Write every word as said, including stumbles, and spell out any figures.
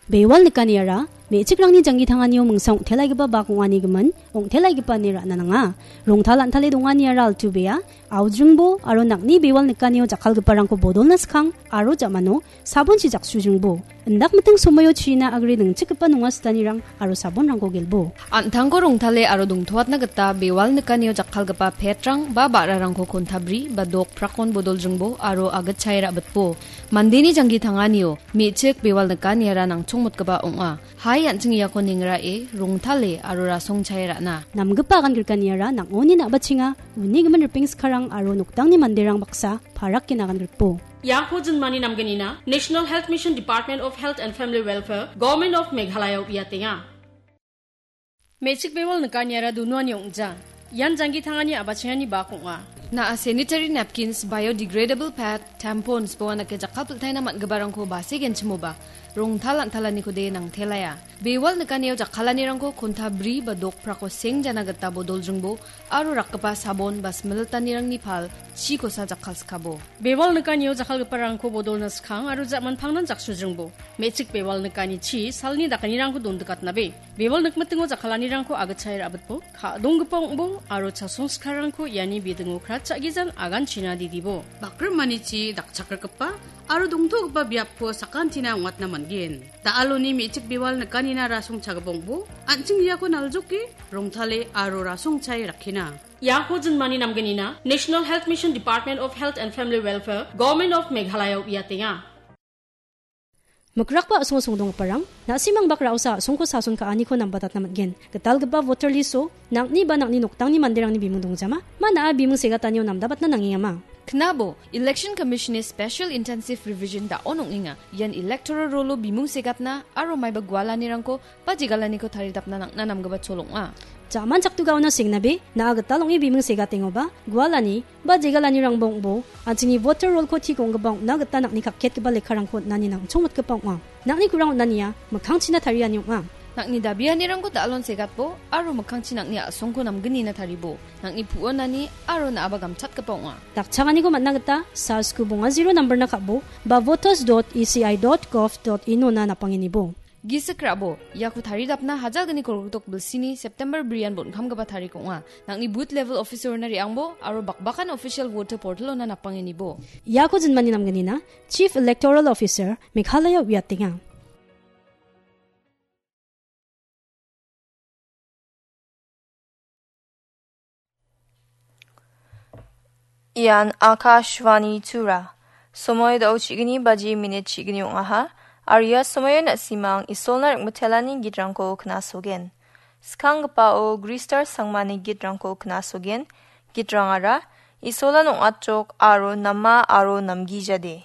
Bewal nikaniara, me·chikrangni janggi tanganio mingsa ong·telaigipa bak ong·anigimin, ong·telaigipa ine ra·na nanga. Rongtal an·tale donganiara altu bea, aujringbo aro nang·ni bewal nikanio jakkalgiparangko bodolna skang aro ja·mano sabonchi jaksujringbo. Indak miting somoio china agre ningchikgipa nonga sitanirang aro sabonrangko gelbo. An·tangko rongtale aro dongtoatna gita bewal nikanio jakkalgipa petrang ba ba·rarangko kontabri ba dok prakon bodoljringbo aro agitchae ra·bitbo. Mandeni janggi tanganio me·chik bewal nikaniara nangchongmotgipa ong·a. Hai an·ching iako nengrae, rongtale aro rasongchae ra·na. Namgipa agan grikaniara nang·oni na·bachenga, uni gimin ripeng skarang aro noktangni manderang baksa parak gen agan grikbo. Iako jinmani namgnina National Health Mission, Department of Health and Family Welfare, Government of Meghalaya uiatenga. Me·chik bewal nikaniara dunuani ong·ja. Ian janggi tangani a·bachengani bak ong·a. Na·a sanitary napkins, biodegradable pad, tampons, boanake jakkalpiltaina man·giparangko base genchimoba, rongtal an·talanikode nangtelaia. Bewal nikanio jakkalanirangko konta bri ba dok prako sengjana gita bodoljringbo aro rakgipa sabon ba smilitanirangni pal chikosa jakkalskabo. Bewal nikanio jakkalgiparangko bodolna skang aro ja·manpangnan jaksujringbo. Me·chik bewal nikani chi salni dakanirangko dondikatnabe. Bewal nikmitingo jakkalanirangko agitchae ra·bitbo, ka·donggipa ong·bo aro chasong skarangko iani bidingo kratcha·gijan aganchina didibo. Bakrimanichi dakchakrigipa aro dongtogipa biapko sakantina ong·atna man·gen. Da·aloni me·chik bewal nikanina rasongchagipa ong·bo, an·ching iako naljoke, rongtale aro rasongchae rakkena. Iako jinmani namgnina National Health Mission, Department of Health and Family Welfare, Government of Meghalaya uiatenga. Mikrakba a·songo songdonggiparang, na·simang bak ra·osa a·songko sason ka·aniko nambatatna man·gen. Gitalgipa voter list-o, nang·ni ba nang·ni noktangni manderangni bimung dongjama, ma na·a bimung segatanio namdabatna nangengama. Knabo, Election Commission-ni Special Intensive Revision da·on ong·enga. Ian electoral roll-o bimung segatna aro maiba gualanirangko ba jegalaniko taridapna nang·na namgipa chol ong·a. Ja·man chaktugaona sengnabe, na·a gital ong·e bimung segatengoba, gualani ba jegalanirangba ong·bo, an·chingni voter roll-ko tik ong·gipa ong·na gita nang·ni kakketgipa lekkarangko on·ani nangchongmotgipa ong·a. Nang·ni kurang on·ania mikkangchina tariani ong·a. Nang·ni dabianirangko da·alon segatbo aro mikkangchi nang·ni a·songko namgnina taribo. Nang·ni pu·onani aro na·aba gamchatgipa ong·a. Dakchakaniko man·na gita, sars gu bonga zero nambarna ka·bo ba voters dot E C I dot gov dot in-ona napangenibo. Gisik ra·bo, iako taridapna hajalgni kolgrikdok bilsini September brian bon·kamgipa tarik ong·a. Nang·ni booth level officer-ona re·angbo aro bakbakan official voter portal-ona napangenibo. Iako jinmani namgnina Chief Electoral Officer, Meghalaya uiatenga. Ian Akashvani Tura. Somoi da·o chi·gni baji minit chi·gni ong·aha. Aro ia somoio na·simang Isolna ring·mitelani gitrangko knasogen. Skanggipao Gristar Sangmani gitrangko knasogen. Gitrangara, Isolan ong·atjok aro nama aro namgijade.